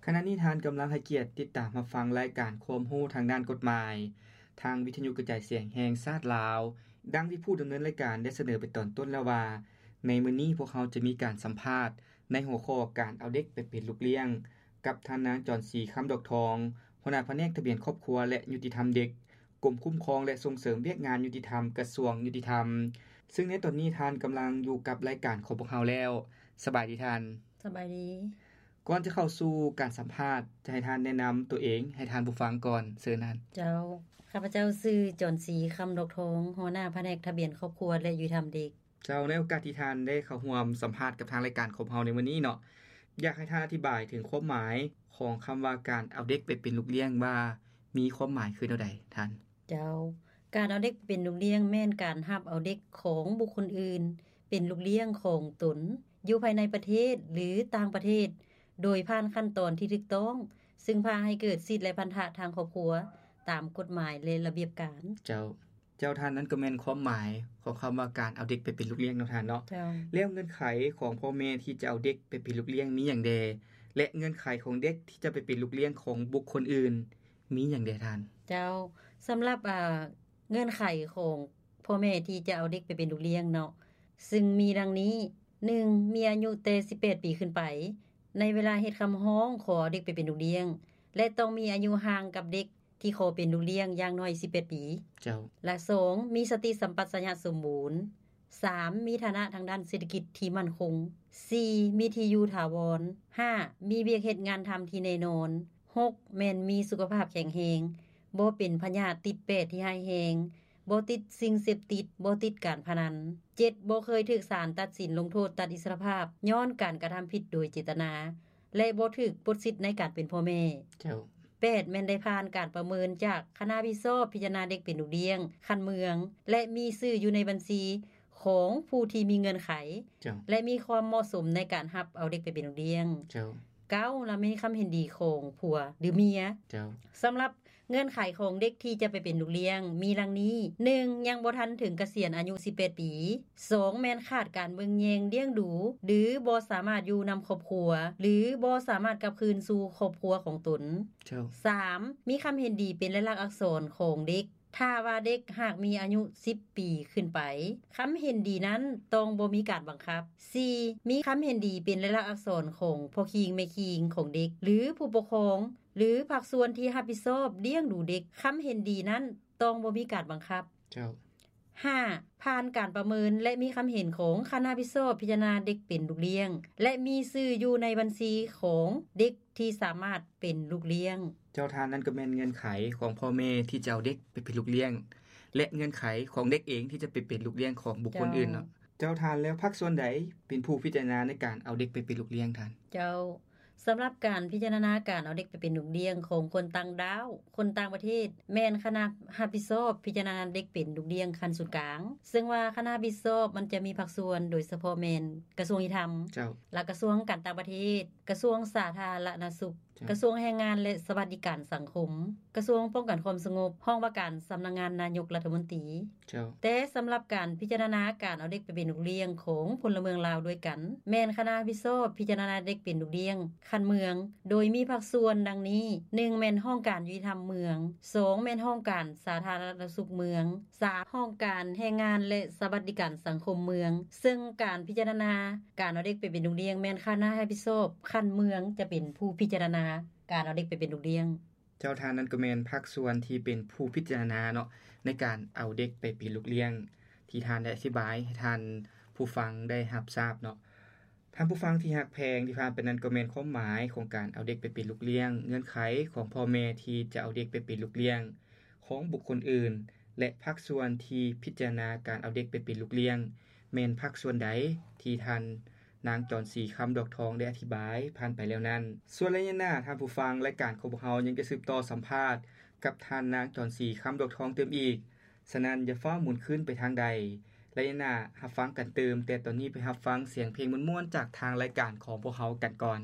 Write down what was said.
ຂະນະນີ້ທ່ານກຳລັງໃຫ້ກຽດຕິດຕາມຮັບຟັງລາຍການຄວາມຮູ້ທາງດ້ານກົດໝາຍ ທາງວິທະຍຸກະຈາຍສຽງແຫ່ງຊາດລາວ. ດັ່ງທີ່ຜູ້ດຳເນີນລາຍການໄດ້ສະເໜີໄປຕອນຕົ້ນແລ້ວວ່າ ໃນມື້ນີ້ພວກເຮົາຈະມີການສຳພາດໃນຫົວຂໍ້ການເອົາເດັກໄປເປັນລູກລ້ຽງ ກັບທ່ານນາງ ຈອນສີ ຄຳດອກທອງ ຫົວໜ້າພະແນກທະບຽນຄອບຄົວ ແລະ ຍຸຕິທຳເດັກ ກົມຄຸ້ມຄອງ ແລະ ສົ່ງເສີມວຽກງານຍຸຕິທຳ ກະຊວງຍຸຕິທຳ. ຊຶ່ງໃນຕອນນີ້ທ່ານກຳລັງຢູ່ກັບລາຍການຂອງພວກເຮົາແລ້ວ. ສະບາຍດີທ່ານ. ສະບາຍດີ. ກ່ອນຈະເຂົ້າສູ່ການສຳພາດ ຈະໃຫ້ທ່ານແນະນຳຕົວເອງໃຫ້ທ່ານຜູ້ຟັງກ່ອນ. ເຊີນທ່ານ. ເຈົ້າ, ຂ້າພະເຈົ້າຊື່ ຈອນສີ ຄຳດອກທອງ ຫົວໜ້າພະແນກທະບຽນຄອບຄົວ ແລະ ຍຸຕິທຳເດັກ. ເຈົ້າ, ໃນໂອກາດທີ່ທ່ານໄດ້ເຂົ້າຮ່ວມສຳພາດກັບທາງລາຍການຂອງເຮົາໃນມື້ນີ້ເນາະ, ຢາກໃຫ້ທ່ານອະທິບາຍເຖິງຄວາມໝາຍຂອງຄຳວ່າການເອົາເດັກໄປເປັນລູກລ້ຽງ ວ່າມີຄວາມໝາຍຄືແນວໃດທ່ານ? ເຈົ້າ, ການເອົາເດັກໄປເປັນລູກລ້ຽງ ແມ່ນການຮັບເອົາເດັກຂອງບຸກຄົນອື່ນເປັນລູກລ້ຽງຂອງຕົນ ຢູ່ພາຍໃນປະເທດ ຫຼື ຕ່າງປະເທດ ໂດຍຜ່ານຂັ້ນຕອນທີ່ຖືກຕ້ອງ, ຊຶ່ງພາໃຫ້ເກີດສິດ ແລະ ພັນທະທາງຄອບຄົວ ຕາມກົດໝາຍ ແລະ ລະບຽບການ. ເຈົ້າ. ເຈົ້າ, ທ່ານ, ນັ້ນກໍແມ່ນຄວາມໝາຍຂອງຄຳວ່າການເອົາເດັກໄປເປັນລູກລ້ຽງເນາະທ່ານເນາະ. ເຈົ້າ. ແລ້ວເງື່ອນໄຂຂອງພໍ່ແມ່ທີ່ຈະເອົາເດັກໄປເປັນລູກລ້ຽງມີຫຍັງແດ່ ແລະ ເງື່ອນໄຂຂອງເດັກທີ່ຈະໄປເປັນລູກລ້ຽງຂອງບຸກຄົນອື່ນມີຫຍັງແດ່ທ່ານ? ເຈົ້າ, ສຳລັບ ອ່າ ເງື່ອນໄຂຂອງພໍ່ແມ່ທີ່ຈະເອົາເດັກໄປເປັນລູກລ້ຽງເນາະ, ຊຶ່ງມີດັ່ງນີ້, ໜຶ່ງ, ມີອາຍຸແຕ່ສິບແປດປີຂຶ້ນໄປ ໃນເວລາເຮັດຄຳຮ້ອງຂໍເອົາເດັກໄປເປັນລູກລ້ຽງ ແລະ ຕ້ອງມີອາຍຸຫ່າງກັບເດັກ ທີ່ຂໍເປັນລູກລ້ຽງຢ່າງໜ້ອຍສິບແປດປີ. ເຈົ້າ. ແລະ ສອງ, ມີສະຕິສຳປັດຊະຍະສົມບູນ. ສາມ, ມີຖານະທາງດ້ານເສດຖະກິດທີ່ໝັ້ນຄົງ. ສີ່, ມີທີ່ຢູ່ຖາວອນ. ຫ້າ, ມີວຽກເຮັດງານທຳທີ່ແນ່ນອນ. ຫົກ, ແມ່ນມີສຸຂະພາບແຂງແຮງ, ບໍ່ເປັນພະຍາດຕິດແປທີ່ຮ້າຍແຮງ, ບໍ່ຕິດສິ່ງເສບຕິດ, ບໍ່ຕິດການພະນັນ. ເຈັດ, ບໍ່ເຄີຍຖືກສານຕັດສິນລົງໂທດຕັດອິດສະລະພາບ ຍ້ອນການກະທຳຜິດໂດຍເຈດຕະນາ ແລະ ບໍ່ຖືກປົດສິດໃນການເປັນພໍ່ແມ່. ເຈົ້າ. ແປດ, ແມ່ນໄດ້ຜ່ານການປະເມີນຈາກຄະນະຮັບຜິດຊອບພິຈາລະນາເດັກເປັນລູກລ້ຽງຂັ້ນເມືອງ ແລະ ມີຊື່ຢູ່ໃນບັນຊີຂອງຜູ້ທີ່ມີເງື່ອນໄຂ ເຈົ້າ. ແລະ ມີຄວາມເໝາະສົມໃນການຮັບເອົາເດັກໄປເປັນລູກລ້ຽງ. ເຈົ້າ. ເກົ້າ, ລະມີຄຳເຫັນດີຂອງຜົວ ຫຼື ເມຍ. ເຈົ້າ. ສຳລັບເງື່ອນໄຂຂອງເດັກທີ່ຈະໄປເປັນລູກລ້ຽງມີດັ່ງນີ້, ໜຶ່ງ, ຍັງບໍ່ທັນເຖິງກະສຽນອາຍຸສິບແປດປີ. ສອງ, ແມ່ນຂາດການເບິ່ງແຍງລ້ຽງດູ ຫຼື ບໍ່ສາມາດຢູ່ນຳຄອບຄົວ ຫຼື ບໍ່ສາມາດກັບຄືນສູ່ຄອບຄົວຂອງຕົນ. ເຈົ້າ. ສາມ, ມີຄຳເຫັນດີເປັນລາຍລັກອັກສອນຂອງເດັກ. ຖ້າວ່າເດັກຫາກມີອາຍຸສິບປີຂຶ້ນໄປ, ຄຳເຫັນດີນັ້ນຕ້ອງບໍ່ມີການບັງຄັບ. ສີ່, ມີຄຳເຫັນດີເປັນລາຍລັກອັກສອນຂອງພໍ່ຄີງແມ່ຄີງຂອງເດັກ ຫຼື ຜູ້ປົກຄອງ ຫຼື ພາກສ່ວນທີ່ຮັບຜິດຊອບລ້ຽງດູເດັກ. ຄຳເຫັນດີນັ້ນຕ້ອງບໍ່ມີການບັງຄັບ. ເຈົ້າ. ຫ້າ, ຜ່ານການປະເມີນ ແລະ ມີຄຳເຫັນຂອງຄະນະຮັບຜິດຊອບພິຈາລະນາເດັກເປັນລູກລ້ຽງ ແລະ ມີຊື່ຢູ່ໃນບັນຊີຂອງເດັກທີ່ສາມາດເປັນລູກລ້ຽງ. ເຈົ້າທ່ານ, ນັ້ນກໍແມ່ນເງື່ອນໄຂຂອງພໍ່ແມ່ທີ່ຈະເອົາເດັກໄປເປັນລູກລ້ຽງ ແລະ ເງື່ອນໄຂຂອງເດັກເອງທີ່ຈະໄປເປັນລູກລ້ຽງຂອງບຸກຄົນ ເຈົ້າ ອື່ນເນາະ. ເຈົ້າທ່ານ, ແລ້ວພາກສ່ວນໃດເປັນຜູ້ພິຈາລະນາໃນການເອົາເດັກໄປເປັນລູກລ້ຽງທ່ານ? ເຈົ້າ. ສຳລັບການພິຈາລະນາການເອົາເດັກໄປເປັນລູກລ້ຽງຂອງຄົນຕ່າງດ້າວ, ຄົນຕ່າງປະເທດ, ແມ່ນຄະນະຮັບຜິດຊອບພິຈາລະນາເດັກເປັນລູກລ້ຽງຂັ້ນສູນກາງ, ເຊິ່ງວ່າຄະນະຮັບຜິດຊອບມັນຈະມີພາກສ່ວນ ໂດຍສະເພາະແມ່ນກະຊວງຍຸຕິທຳ, ເຈົ້າ. ແລະ ກະຊວງການຕ່າງປະເທດ, ກະຊວງສາທາລະນະສຸກ, ເຈົ້າ. ກະຊວງແຮງງານ ແລະ ສະຫວັດດີການສັງຄົມ, ກະຊວງປ້ອງກັນຄວາມສະຫງົບ, ຫ້ອງວ່າການສຳນັກງານນາຍົກລັດຖະມົນຕີ. ເຈົ້າ. ແຕ່ສຳລັບການພິຈາລະນາການເອົາເດັກໄປເປັນລູກລ້ຽງຂອງພົນລະເມືອງລາວດ້ວຍກັນ, ແມ່ນຄະນະຮັບຜິດຊອບພິຈາລະນາເດັກເປັນລູກລ້ຽງຂັ້ນເມືອງ, ໂດຍມີພາກສ່ວນດັ່ງນີ້, ໜຶ່ງ ແມ່ນຫ້ອງການຍຸຕິທຳເມືອງ, ສອງ ແມ່ນຫ້ອງການສາທາລະນະສຸກເມືອງ, ສາມ ຫ້ອງການແຮງງານ ແລະ ສະຫວັດດີການສັງຄົມເມືອງ, ເຊິ່ງການພິຈາລະນາການເອົາເດັກໄປເປັນລູກລ້ຽງ ແມ່ນຄະນະຮັບຜິດຊອບຂັ້ນເມືອງຈະເປັນຜູ້ພິຈາລະນາການເອົາເດັກໄປເປັນລູກລ້ຽງ. ເຈົ້າ, ທ່ານນັ້ນກໍແມ່ນພາກສ່ວນທີ່ເປັນຜູ້ພິຈາລະນາເນາະ ໃນການເອົາເດັກໄປເປັນລູກລ້ຽງ ທີ່ທ່ານໄດ້ອະທິບາຍໃຫ້ທ່ານຜູ້ຟັງໄດ້ຮັບຊາບເນາະ. ທ່ານຜູ້ຟັງທີ່ຮັກແພງ, ທີ່ຜ່ານໄປນັ້ນກໍແມ່ນຄວາມໝາຍຂອງການເອົາເດັກໄປເປັນລູກລ້ຽງ, ເງື່ອນໄຂຂອງພໍ່ແມ່ທີ່ຈະເອົາເດັກໄປເປັນລູກລ້ຽງຂອງບຸກຄົນອື່ນ ແລະ ພາກສ່ວນທີ່ພິຈາລະນາການເອົາເດັກໄປເປັນລູກລ້ຽງ ແມ່ນພາກສ່ວນໃດ ທີ່ທ່ານນາງ ຈອນສີ ຄຳດອກທອງ ໄດ້ອະທິບາຍຜ່ານໄປແລ້ວນັ້ນ. ສ່ວນໄລຍະໜ້າ, ທ່ານຜູ້ຟັງ, ລາຍການຂອງພວກເຮົາຍັງຈະສືບຕໍ່ສຳພາດກັບທ່ານນາງ ຈອນສີ ຄຳດອກທອງ ຕື່ມອີກ. ສະນັ້ນ, ຢ່າຟ້າວໝູນຄືນໄປທາງໃດ. ໄລຍະໜ້າ, ຮັບຟັງກັນຕື່ມ, ແຕ່ຕອນນີ້ໄປຮັບຟັງສຽງເພງມ່ວນໆ ຈາກທາງລາຍການຂອງພວກເຮົາກັນກ່ອນ.